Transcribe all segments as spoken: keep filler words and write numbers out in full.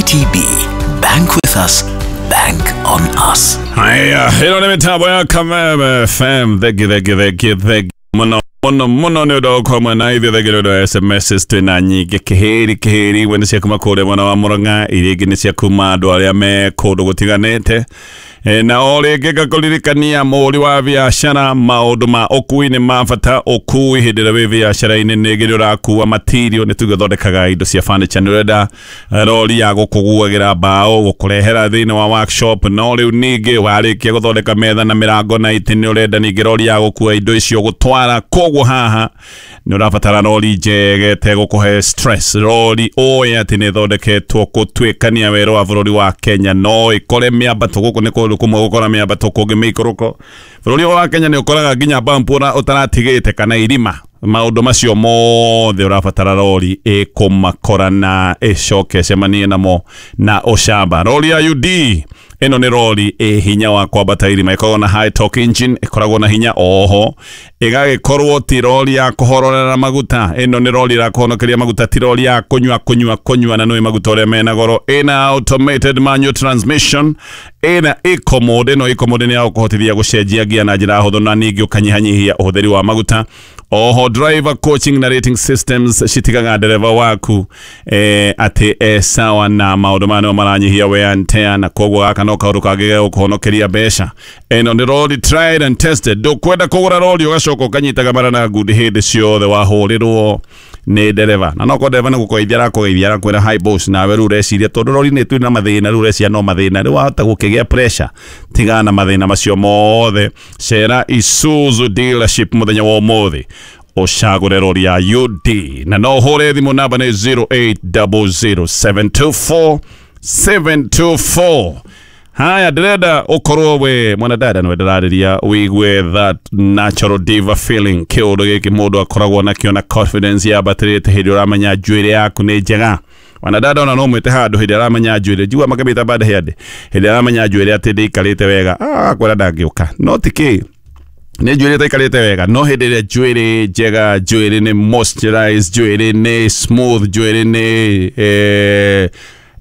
G T B. Bank with us, bank on us. Haya, ĩno nĩ mĩtambo ya Kameme F M. Thengi, thengi, thengi, thengi mũno mũno mũno nĩ ũndũ wa gũkorwo mwena ithuĩ. Thengi nĩ ũndũ wa S M Ss twĩna nyingĩ. Kĩhĩri kĩhĩri imwe nĩ cia kuma kũrĩa mwena wa Mũrang'a, iria ingĩ nĩ cia kuma andũ arĩa me kũndũ gũtiganĩte. E, na o rĩngĩ ngakũririkania, mũhũri wa biacara, maũndũ ma ũkui nĩ ma bata. Ũkui hĩndĩ ĩrĩa wĩ biacara-inĩ, nĩ ngĩrĩ ũrakua material, nĩ tuge ũthondekaga indo cia furniture, nĩ ũrenda rori ya gũkũguagĩra mbaũ, gũkũrehera thĩinĩ wa workshop. No rĩu ningĩ warĩkia gũthondeka metha na mĩrango na itĩ, nĩ ũrenda ningĩ rori ya gũkua indo icio gũtwara. Koguo haha nĩ ũrabatara rori njega ĩtegũkũhe stress, rori ũĩ atĩ nĩ ĩthondeketwo gũtuĩkania werũ wa bũrũri wa Kenya. No ĩkore mĩambato, gũkũ nĩ kũndũ kũmwe gũkora mĩambato, kũngĩ mĩikũrũko. Bũrũri wa Kenya nĩ ũkoraga nginya bump ũra- ũtaratigĩte kana irima. Maũndũ macio mothe ũrabatara rori ĩkũmakora na ĩcoke ĩcemanie namo na ũcamba. Rori ya U D ĩno nĩ rori ĩ hinya wa kwambata irima, ĩkoragwo na high torque engine, ĩkoragwo na hinya, oho ĩgagĩkorwo ti rori ya kũhororera maguta. Ĩno nĩ rori ĩrakũhonokeria maguta, ti rori ya kũnyua kũnyua kũnyua, na nĩ maguta ũrĩa mena goro. Ĩna automated manual transmission, ĩna eco mode. Ĩno eco mode nĩ ya gũkũhotithia gũcenjia ngia na njĩra hũthũ na ningĩ ũkanyihanyihia ũhũthĩri wa maguta. Oho driver coaching na rating systems citigaga ndereba waku eh, atĩ e sawa na maũndũ maya nĩmo maranyihia wear and tear, na koguo gaka no kaũndũ kangĩ ga gũkũhonokeria mbeca. Ĩno nĩ rori tried and tested. Ndũkwenda kũgũra rori ũgacoka ũkanyitaga mara na ngundi hĩndĩ ciothe wahũrĩrwo nĩ ndereba, na no korwo ndereba nĩ gũkũgeithia arakũgeithia, arakwĩra, "Hi boss," nawe rĩu ũreciria tondũ rori nĩ twĩ na mathĩna, rĩu ũreciria no mathĩna, rĩu wahota gũkĩgĩa pressure. Tigana na mathĩna macio mothe, cera Isuzu dealership mũthenya wa ũmũthĩ, ũcagũre rori ya U D, na no ũhũre thimũ, namba nĩ zero eight zero zero, seven two four seven two four. Haya, ndĩrenda ũkorwo we mwanadada nĩwe ndĩrarĩria, wĩigue that natural diva feeling, kĩũndũ gĩkĩ mũndũ akoragwo nakĩo na confidence yambatĩrĩte hĩndĩ ũramenya njuĩrĩ yaku nĩ njega. Wanadada ona no mwĩte handũ hĩndĩ aramenya njuĩrĩ, njigua makĩmĩta bad hair day, hĩndĩ aramenya njuĩrĩ atĩ ndĩikarĩte wega, ah, akwĩra ndangĩũka, no ti kĩ nĩ njuĩrĩ ĩtaikarĩte wega. No hĩndĩ ĩrĩa njuĩrĩ njega, njuĩrĩ nĩ moisturized, njuĩrĩ nĩ smooth, njuĩrĩ nĩ eh,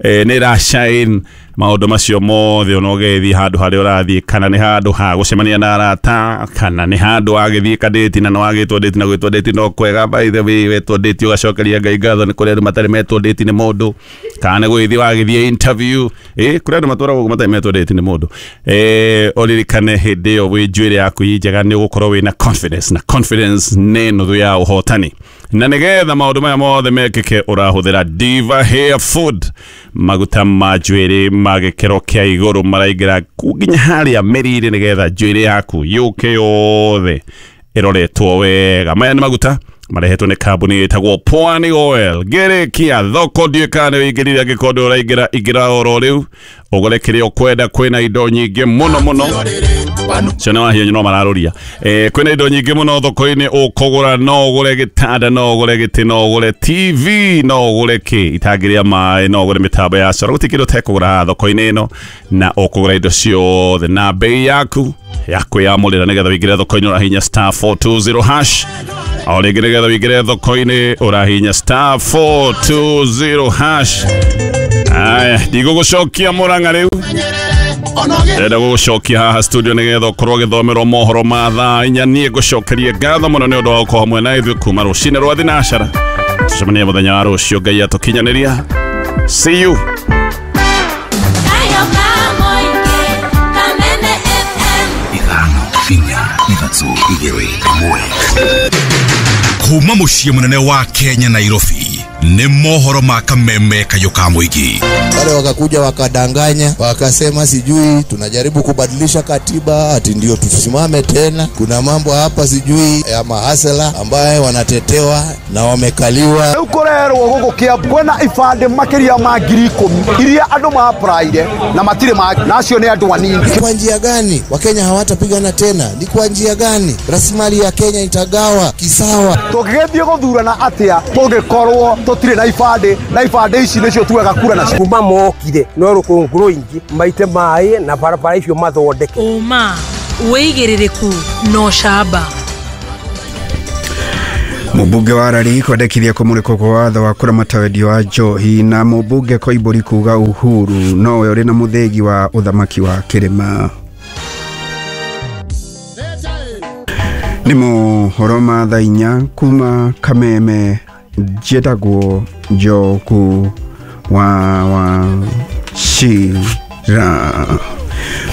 eh, nĩ ĩra shine, maũndũ macio mothe, ona ũgĩthiĩ handũ harĩa ũrathiĩ, kana nĩ handũ ha gũcemania na arata, kana nĩ handũ wagĩthiĩ kadĩti, na nĩ wagĩtwo ndĩti, na gwĩtwo ndĩti no kwega. By the way, wetwo ndĩti ũgacokeria Ngai ngatho, nĩ kũrĩ andũ matarĩ metwo ndĩti nĩ mũndũ. Kana nĩ gũgĩthiĩ wagĩthiĩ interview, ĩ kũrĩ andũ matũragwo ũguo matarĩ metwo ndĩti nĩ mũndũ. eh ũririkane hĩndĩ ĩyo wĩ njuĩrĩ yaku ĩ njega, nĩ ũgũkorwo wĩna confidence, na confidence nĩ nuthu ya ũhotani. Na nĩgetha maũndũ maya mothe mekĩke, ũrahũthĩra Diva Hair Food, maguta ma njuĩrĩ ma gĩkĩro kĩa igũrũ, maraingĩra nginya harĩa mĩri-inĩ nĩgetha njuĩrĩ yaku yũke yothe ĩroretwo wega. Maya nĩ maguta marehetwo nĩ kambuni ĩtagwo Pwani Oil. Ngĩrĩkia thoko, ndiũĩ kana nĩ ũingĩrire, angĩkorwo ndũ ũraingĩra, ingĩra oro rĩu ũgũre kĩrĩa ũkwenda. Kwĩna indo nyingĩ mũno mũno, ciana wahiũ no mararũria. eh, kwĩna indo nyingĩ mũno thoko-inĩ ũkũgũra, no ũgũre gĩtanda, no ũgũre gĩtĩ, no ũgũre T V, no ũgũre kĩ itangĩrĩa maĩ, no ũgũre mĩtambo ya coro, gũtirĩ kĩndũ ũtekũgũra haha thoko-inĩ ĩno, na ũkũgũra indo ciothe na bei yaku ya kwĩyamũrĩra. Nĩgetha wĩingĩre thoko-inĩ, ũrahinya star four two zero hash. O rĩngĩ, nĩgetha wĩingĩre thoko-inĩ, ũrahinya star four two zero hash. Aya, ndigũgũcokia Mũrang'a rĩu, ndĩrenda gũgũcokia haha studio nĩgetha ũkorwo ũgĩthomerwo mohoro ma thaa inya. Niĩ ngũcokerie ngatho mũno nĩ ũndũ wa gũkorwo hamwe na ithuĩ kuma rũcinĩ rwa thinacara. Tũcemanie mũthenya wa rũciũ Ngai atũkinyanĩria. See you. Kayo kamoike, Kameme F M. Ithano, inya, ithatũ, igĩrĩ, ĩmwe. Kuma mũciĩ mũnene wa Kenya, Nairobi, nĩ mohoro ma Kameme Kayũ ka mũingĩ. Wale wakakuja wakadanganya, wakasema sijui tunajaribu kubadilisha katiba ati ndio tusimame tena. Kuna mambo hapa sijui ya mahasela ambaye wanatetewa na wamekaliwa. Rĩu kũrerwo gũkũ Kiambu kwĩna ibandĩ makĩria ma ngiri ikũmi iria andũ maapraire na matirĩ ma na acio nĩ andũ anini. Ni kwa njia gani Wakenya hawatapigana tena? Ni kwa njia gani rasilimali ya Kenya itagawa kisawa? Tũngĩgĩthiĩ gũthurana atĩa tũngĩkorwo tũtirĩ na ibandĩ, na ibandĩ ici nĩcio tugaga kura nacio? Kuma mokire no rũkũngũ rũingĩ, maite maĩ na barabara icio mathondeke. Ũma, wĩigĩrĩrĩku na ũcamba. Mũmbunge wa Rari kwendekithia kũmũrĩkwo kwa watho wa kũramata wendia wa njohi na mũmbunge Koimbũri kuga Uhuru nowe ũrĩ na mũthĩgi wa ũthamaki wa kĩrĩma. Nĩ mohoro ma thaa inya kuma Kameme, njĩtagwo Njoku wa Wachira.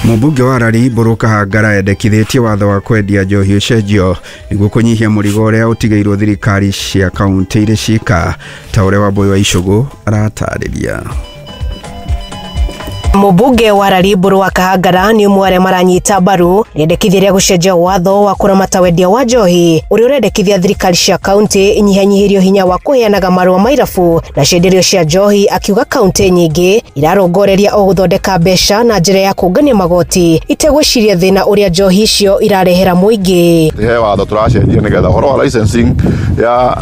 Mũmbunge wa Rari Mbũrũ Kahangara endekithĩtie watho wa kwendia njohi ũcenjio nĩguo kũnyihia mũrigo ũrĩa ũtigĩirwo thirikari cia kaunti irĩ cika, ta ũrĩa Wambũi wa Icũgũ aratarĩria. Mũmbunge wa Rari Mbũrũ wa Kahangara nĩ ũmwe arĩa maranyita mbaru rĩendekithia rĩa gũcenjia watho wa kũramata wendia wa njohi ũrĩa ũrendekithia thirikari cia kaunti inyihanyihĩrio hinya wa kũheanaga marũa ma irabu na cienderio cia njohi, akiuga kaunti nyingĩ irarongoreria o gũthondeka mbeca na njĩra ya kũngania magoti itegwĩciria thĩna ũrĩa njohi icio irarehera mũingĩ. He watho tũracenjia nĩgetha ũhoro wa licensing ya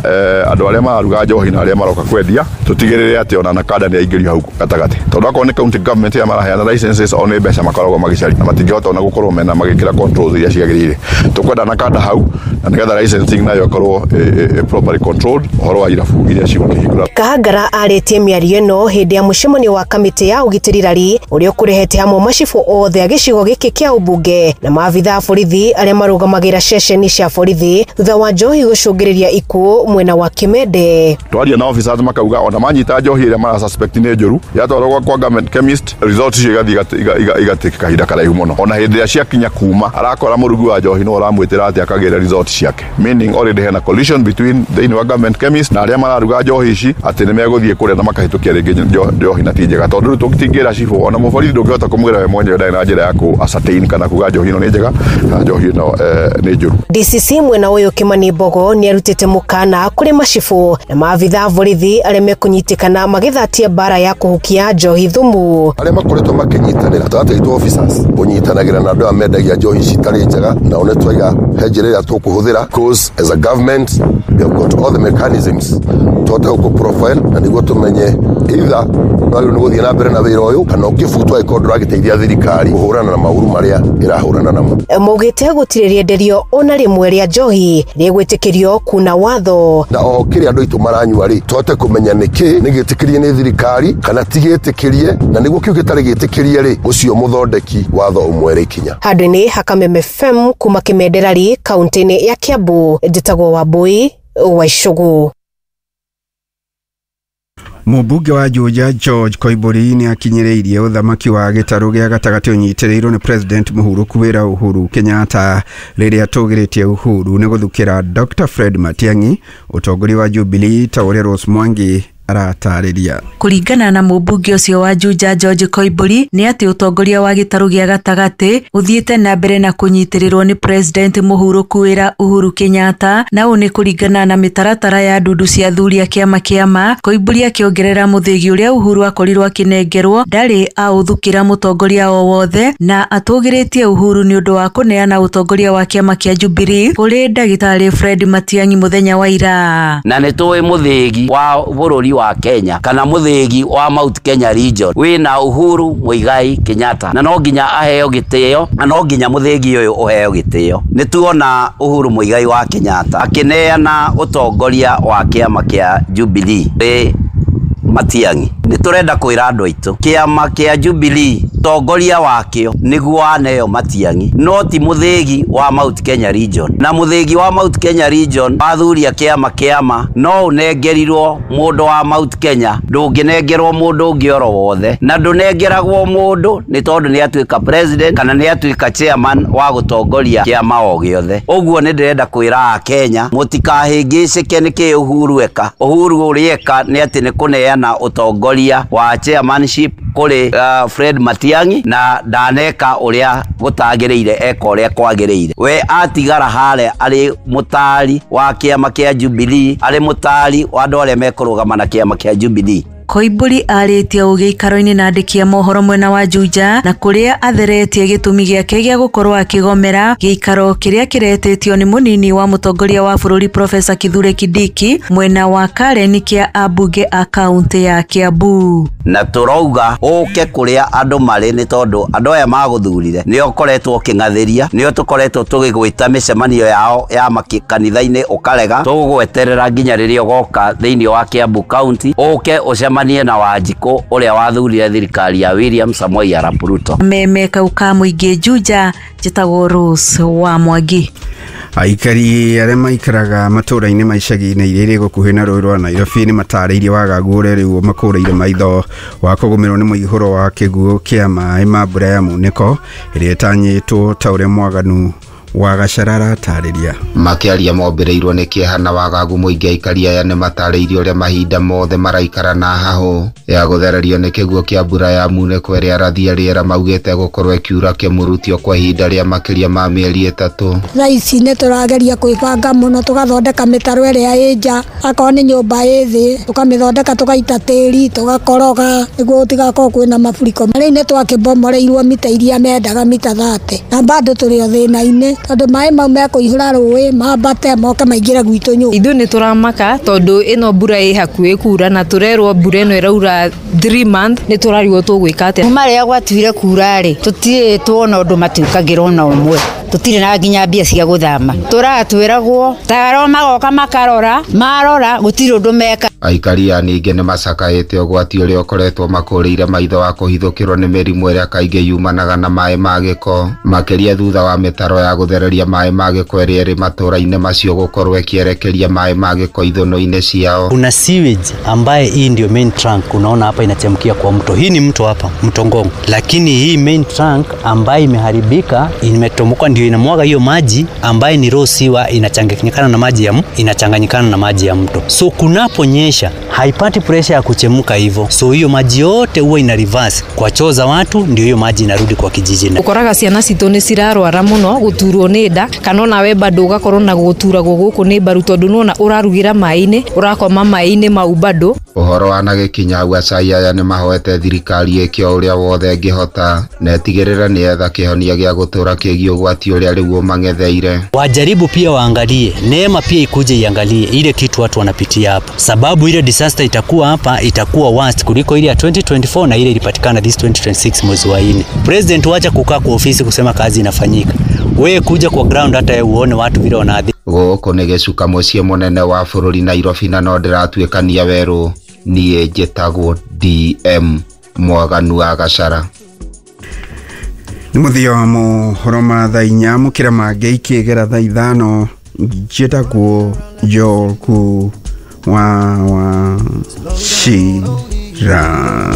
andũ arĩa mararuga njohi na arĩa maroka kwendia tũtigĩrĩre atĩ ona NACADA nĩ aingĩrio hau gatagatĩ, tondũ akorwo nĩ county government ya maraheana licenses o nĩ mbeca makoragwo magĩcaria na matingĩhota ona gũkorwo mena magĩkĩra controls iria ciagĩrĩire. Tũkwenda NACADA hau na nĩgetha licensing nayo ĩkorwo properly controlled, ũhoro wa irabu iria cigũkĩhingũra. Kahangara arĩtie mĩario ĩno hĩndĩ ya mũcemanio wa kamĩtĩ ya ũgitĩri Rari ũrĩa ũkũrehete hamwe macibũ othe a gĩcigo gĩkĩ kĩa ũmbunge na maabitha a borithi arĩa marũgamagĩra ceceni cia borithi thutha wa njohi gũcũngĩrĩria ikuũ mwena wa Kimende. Twaria na officers makauga ona manyita njohi ĩrĩa mara suspect nĩ njũru yatwarwo kwa government chemist, results icio igathiĩ igatake kahinda karaihu mũno. Ona hĩndĩ ĩrĩa ciakinya kuma arakora mũrugi wa njohi no ũramwĩtĩra atĩ akagĩra results ciake, meaning already hena collision between thĩinĩ wa government chemist na arĩa mararuga njohi ici atĩ nĩ megũthiĩ kũrĩa na makahĩtũkia rĩngĩ njohi na ti njega, tondũ rĩu tũtingĩra cibũ ona mũborithi ndũngĩhota kũmwĩra we mwenyewe ndarĩ na njĩra ya kũ ascertain kana kuga njohi ĩno nĩ njega kana njohi ĩno nĩ njũru. D C C mwena ũyũ Kimani Mbogo nĩ arutĩte mũkana kũrĩ macibũ na maabitha a borithi arĩa mekũnyitĩkana magĩthatia mbara ya kũhukia njohi thumu. Arĩa makoretwo makĩnyitanĩra gatagatĩ gaitũ officers kũnyitanagĩra na andũ aya mendagia njohi citarĩ njega, na one twaiga he njĩra ĩrĩa tũkũhũthĩra, because as a government we have got all the mechanisms tũhote gũkũ profile na nĩguo tũmenye either wagĩrĩirwo nĩ gũthiĩ na mbere na wĩra ũyũ kana ũkĩbutwo angĩkorwo ndũragĩteithia thirikari kũhũrana na maũru marĩa ĩrahũrana namo. Maugĩte gũtirĩ rĩenderio ona rĩmwe rĩa njohi rĩgwĩtĩkĩrio kuna watho, na o kĩrĩa andũ aitũ maranyua rĩ tũhote kũmenya nĩkĩ nĩ gĩtĩkĩrie nĩ thirikari kana ti gĩtĩkĩrie, na nĩguo kĩu gĩtarĩ gĩtĩkĩrie rĩ ũcio mũthondeki watho ũmwere ikinya. Handũ-inĩ ha Kameme F M kuma Kimende Rari kaunti-inĩ ya Kiambu, njĩtagwo Wambũi wa Icũgũ. Mũmbunge wa Juja George Koimbũri nĩ akinyĩrĩirie ũthamaki wa gĩtarũ gĩa gatagatĩ ũnyitĩrĩirwo nĩ President Mũhurũku wĩra Uhuru Kenyatta rĩrĩa atũgĩrĩtie Uhuru nĩ gũthukĩra Doctor Fred Matiang'i ũtongoria wa Jubilee ta ũrĩa Rose Mwangi aratarĩria. Kũringana na mũmbunge ũcio wa Juja George Koimbũri nĩ atĩ ũtongoria wa gĩtarũ gĩa gatagatĩ ũthiĩte na mbere na kũnyitĩrĩrwo nĩ President Mũhurũku wĩra Uhuru Kenyatta, na ũũ nĩ kũringana na mĩtaratara ya ndundu cia athuri a kĩama kĩama. Koimbũri akĩongerera mũthĩgi ũrĩa Uhuru akorirwo akĩnengerwo ndarĩ aũthukĩra mũtongoria o wothe, na atũgĩrĩtie Uhuru nĩ ũndũ wa kũneana ũtongoria wa kĩama kĩa Jubilee kũrĩ ndagĩtarĩ Fred Matiang'i mũthenya wa ira. Na nĩ tũĩ mũthĩgi wa bũrũri wa Kenya kana mũthĩgi wa Mount Kenya region wĩna Uhuru Muigai Kenyatta, na no nginya aheo gĩtĩo na no nginya mũthĩgi ũyũ ũheo gĩtĩo. Nĩ tuona Uhuru Muigai wa Kenyatta akĩneana ũtongoria wa kĩama kĩa Jubilee kũrĩ Matiang'i. Nĩ tũrenda kwĩra andũ aitũ kĩama kĩa Jubilee tongoria wakĩo nĩguo aneo Matiang'i, no ti mũthĩgi wa Mount Kenya region. Na mũthĩgi wa Mount Kenya region wathuria kĩama kĩama no ũnengerirwo mũndũ wa Mount Kenya, ndũngĩnengerwo mũndũ ũngĩ oro wothe, na ndũnengeragwo mũndũ nĩ tondũ nĩ atuĩka president kana nĩ atuĩka chairman wa gũtongoria kĩama o gĩothe. Ũguo nĩ ndĩrenda kwĩra Akenya mũtikahĩngĩcĩke nĩ kĩ Uhuru eka. Uhuru ũrĩa eka nĩ atĩ nĩ kũneana ũtongoria wa chairmanship kũrĩ uh, Fred Matiang'i, na ndaneka ũrĩa gũtagĩrĩire, eka ũrĩa kwagĩrĩire. We atigara harĩa arĩ mũtari wa kĩama kĩa Jubilee, arĩ mũtari wa andũ arĩa mekũrũgama na kĩama kĩa Jubilee. Koimburi arĩtie ũũ gĩikaro-inĩ na andĩki a mohoro mwena wa Juja na kũrĩa atheretie gĩtũmi gĩake gĩa gũkorwo akĩgomera gĩikaro kĩrĩa kĩretĩtio nĩ mũnini wa mũtongoria wa bũrũri Profesa Kithure Kindiki mwena wa Karen kĩa ambunge a kaunti ya Kiambu. Na tũrauga ũke kũrĩa andũ marĩ nĩ tondũ andũ aya magũthurire nĩo ũkoretwo ũkĩng'athĩria, nĩo tũkoretwo tũgĩgwĩta mĩcemanio yao ya kanitha-inĩ ũkarega. Tũgũgweterera nginya rĩrĩa ũgoka thĩinĩ wa Kiambu County ũke ũcemanie na Wanjikũ ũrĩa wathurire thirikari ya William Samoei Arap Ruto. Meme kau ka mũingĩ Juja, njĩtagwo Rose wa Mwangi. Aikari arĩa maikaraga matũũra-inĩ ma icagi-inĩ iria irĩ gũkuhĩ na rũĩ rwa Nairobi nĩ matarĩirie wagagu ũrĩa rĩu makũrĩire maitho wa kũgũmĩrwo nĩ mũihũro wa kĩguũ kĩa maĩ ma mbura ya munĩko ĩrĩa ĩtanyĩtwo ta ũrĩa mwaganu wa Gacarara tarĩria. Makĩaria mombĩrĩirwo nĩ kĩeha na wagagu mũingĩ, aikari aya nĩ matarĩirie ũrĩa mahinda mothe maraikara na hahũ ya gũthererio nĩ kĩguũ kĩa mbura ya munĩko ĩrĩa arathi a rĩera maugĩte gũkorwo ĩkiura kĩmurutio kwa ihinda rĩa makĩria ma mĩeri ĩtatũ. Thaa ici nĩ tũrageria kwĩbanga mũno, tũgathondeka mĩtaro ĩrĩa ĩ nja, akorwo nĩ nyũmba ĩ thĩ tũkamĩthondeka, tũgaita tĩri, tũgakoroga nĩguo gũtigakorwo kwĩna maburiko. Rĩu nĩ twakĩbomoreirwo mita iria mendaga mita thate na bado tũrĩ o thĩna-inĩ tondũ maĩ mau mekũihũra rũĩ mambate moke maingĩre gwitũ nyũmba. Ithuĩ nĩ tũramaka tondũ ĩno mbura ĩ hakuhĩ kura na tũrerwo mbura ĩno ĩraura three month, nĩ tũrarigwo tũgwĩka atĩa. Kuma rĩrĩa gwatuire kura rĩ, tũtirĩ tuona ũndũ matuĩkagĩra ona ũmwe, tũtirĩ na nginya mbia cia gũthama, tũratwĩragwo taro magoka makarora, marora gũtirĩ ũndũ meka. Aikari aya ningĩ nĩ macakaĩte ũgwati ũrĩa ũkoretwo makũrĩire maitho wa kũhithũkĩrwo nĩ mĩrimũ ĩrĩa kaingĩ yumanaga na maĩ ma gĩko, makĩria thutha wa mĩtaro ya gũthereria maĩ ma gĩko ĩrĩa ĩrĩ matũũra-inĩ macio gũkorwo ĩkĩerekeria maĩ ma gĩko ithũnũ-inĩ ciao. Kuna sewage ambaye hii ndio main trunk, unaona hapa inachemkia kwa mto. Hii ni mto hapa, mto Ngong. Lakini hii main trunk ambaye imeharibika, imetomoka, ndio inamwaga hiyo maji ambaye ni raw sewer, inachanganyikana na maji ya inachanganyikana na maji ya mto. So kunaponyesha haipati pressure ya kuchemuka hivyo. So hiyo maji yote huwa ina reverse kwa choo za watu, ndio hiyo maji inarudi kwa kijiji. Ukoraga ciana citũ nĩ cirarwara mũno gũturwo nĩ nda, kana ona we bado ũgakorwo na gũturagwo gũkũ nĩ mbaru tondũ nĩwona ũrarugĩra maĩ-inĩ, ũrakoma maĩ-inĩ mau bado. Ũhoro wanagĩkinya hau, acai aya nĩ mahoete thirikari ĩke o ũrĩa wothe ĩngĩhota na ĩtigĩrĩre nĩ yetha kĩhonia gĩa gũtũũra kĩgiĩ ũgwati ũrĩa rĩu ũmang'etheire. Wajaribu pia waangalie, neema pia ikuje iangalie ile kitu watu wanapitia hapa, sababu ile disaster itakuwa hapa itakuwa worst kuliko ile ya twenty twenty-four na ile ilipatikana this twenty twenty-six mwezi wa nne. President wacha kukaa kwa ofisi kusema kazi inafanyika, wewe kuja kwa ground hata uone watu vile wanaadhi. Gũkũ nĩ gĩcuka mũciĩ mũnene wa bũrũri Nairobi, na no ndĩratuĩkania werũ. Niĩ njĩtagwo D M Mwaganu wa Gacara. Nĩ mũthia wa mohoro ma thaa inya, mũkĩra mangĩ ikĩgera thaa ithano. Njĩtagwo Njoku wa wa Shira.